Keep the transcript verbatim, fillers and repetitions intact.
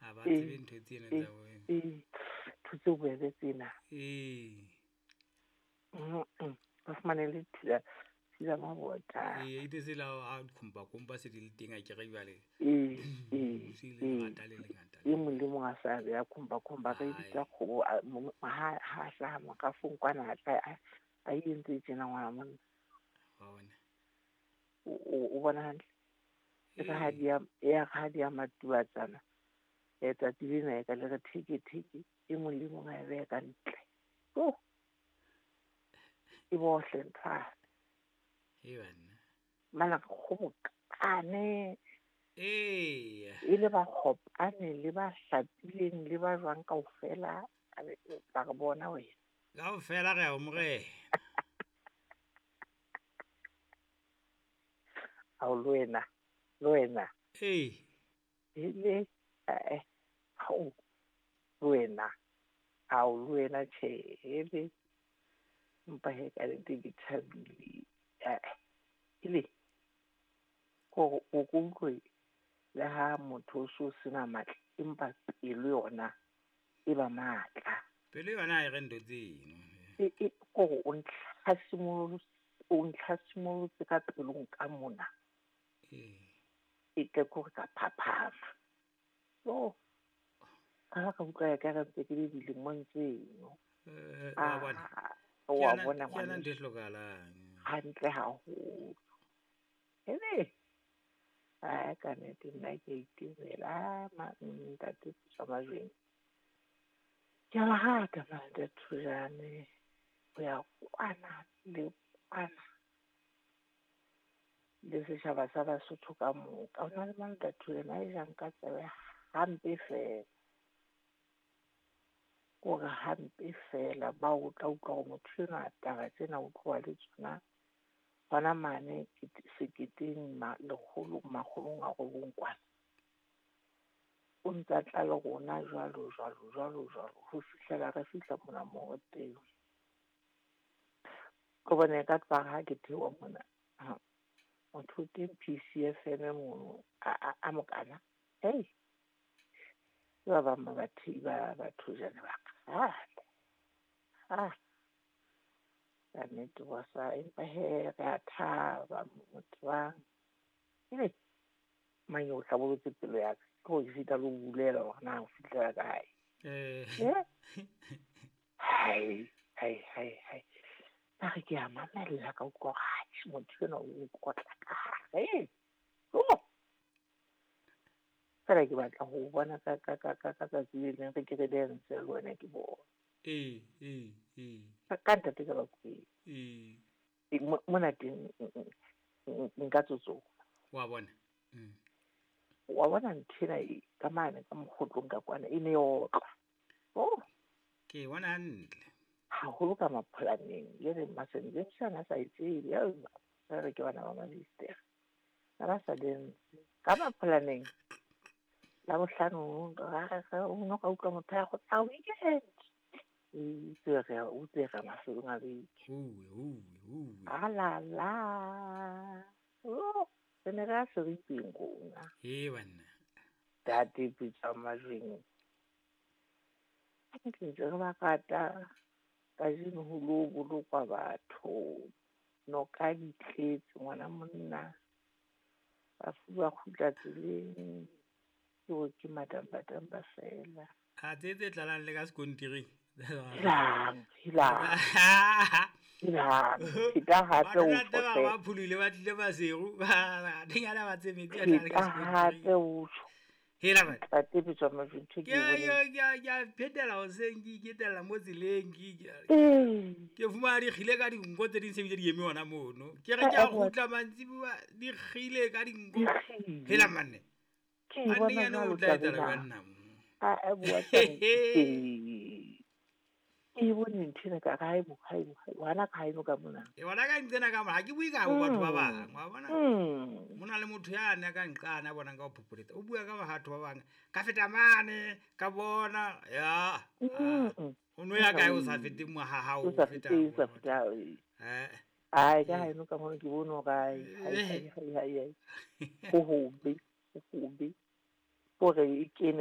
Ha ba tsebe ntho tsena tsa bo. Ee, ntho tse bobebe tsena. Ee. Ba fumane le thila thila mabota. Ee, ite se la ha khumpa kumpa se di le teng a ke re jwale. Ee, ee. Se le ngata le lengata. E mong le mong a sa beha khumpa khumpa ka bitsa kgobo ha ha hlaha makafong kwana a tla a entse tjena ngwana monna. Wa bona. O bona hantle. E ka ha di ya ya ha di ya matubatsana. E tsatsi lena e ka le re theke theke e mong le mong a e beha ka ntle. Oh. E bohle ntho. E banna. Mana kgobokane. Ee. E le ba kgopane le ba hlapileng le ba jwang kaofela ba re bona wena. Kaofela re a o morena. Ao le wena, le wena. Ee. E le eh ao le wena. Ao le wena tjhe ele. Mpa he ka le ke thabile. Eh ile ko o kutlwe le ha motho o so sena matla empa pelo yona e ba matla. Pelo yona e re ntho tseno. E e ko o ntlhasimolotse o ntlhasimolotse ka pelong ka mona. Ee. E ke ko ka phaphama. Oh. Ka ka utlwa ya ka re ntse ke le dilemong tseno. Eh wa bona. Wa bona ngwana. Ke yona ntho e hlokahalang. Hantle haholo. Hele. Ai ka nnete nna ke itumela ma ntate Putswa Majweng. Ke a ba rata ntate Thojane ho ya kwana le kwana le setjhaba sa Basotho ka moka. Ho na le ntate Thojane a e jang ka tsebe hampe fela. Kore hampe fela ba o tla utlwa hore motho enwa taba tsena o tloha le tsona hona mane seketeng lekgolo makgolong a robong kwana. O ntsa tla le rona jwalo jwalo jwalo jwalo ho fihlela re fihla mona moo re teng. Ke bone ka tloha ha ke theoha mona motho o teng P C F M mono a mokana. Hei, ke ba bang ba bathei ba Bathojane ba kgale. Ah. Ka nnete wa sa empa he re a thaba motho wa. Ele mang o hlabolotse pelo ya ka ke ho sita le ho bulela hore na o fihlela kae. Eh. Hai, hai, hai, hai. Ba re ke a mamella ka utlwa hore motho enwa o nkotla ka hare. Oh. Fela ke batla ho bona ka ka ka ka ka tsatsi le leng re ke re dance le wena ke bona. Ee, ee, ee. Ka ntate ka Bakwena. Ee. Mona teng nka tsotsola. Wa bona. Mm. Wa bona nthena e ka mane ka mokgotlong ka kwana e ne e otlwa. Oh. Ke bona hantle. Haholo ka mapholaneng le re Masenjeng a sa e tsebe ya re ke bana ba Mabistere. Ba ba sa dance ka mapholaneng. La bohlano ra re o no ka utlwa motho ya go tsa weekend. E tsere o tsere mafelong a beke. Huwe huwe huwe. A la la. Oh, re ne re a seripeng rona. Ee banna. Ntate Putswa Majweng. Ke ntse re ba rata kajeno ho lo bolokwa batho. Noka di tletse ngwana monna. Bafu ba kgutla tseleng. Ke hore ke madambadamba fela. A tse tse tlalang le ka sekontiring. Helang, helang. Helang. Pheta hape o Batho tjho ba phulile ba tlile Maseru ba dinyana ba tse metsi a tlala ka Pheta hape sekontiring. o tjho. Hela man. Ntate Putswa Majweng ntho Ke ke e boneng. ke ke a phetela hoseng ke iketella mo tseleng ke Ee. ke fumana di kgile ka dinko tse ding se bile di eme hona mono. Ke re ke a kgutla mantsibuya di kgile ka dinko. Di kgile. Hela manne. Ke e A bona nnenyane jwalo o tla taba etsahala ena. jwang nna mo? A a bua taba ee. Ke e bone ntho ena ka re haebo haebo haebo hana ka haeno ka mona. E bona ka ntsena ka mona ha ke bue ka bo batho ba bang wa bona. Mm. Mona le motho ya ne ka nqana a bonang ka ho phopholetsa. O bua ka batho ba bang. Ka feta mane ka bona ya. Mm. O no ya kae o sa fete mo ha hao O o sa feta. fete, o sa fete. Eh. Ai ka haeno ka mona ke bone hore ai hai hai hai hai. Ho hobe, ho hobe. Hore e kene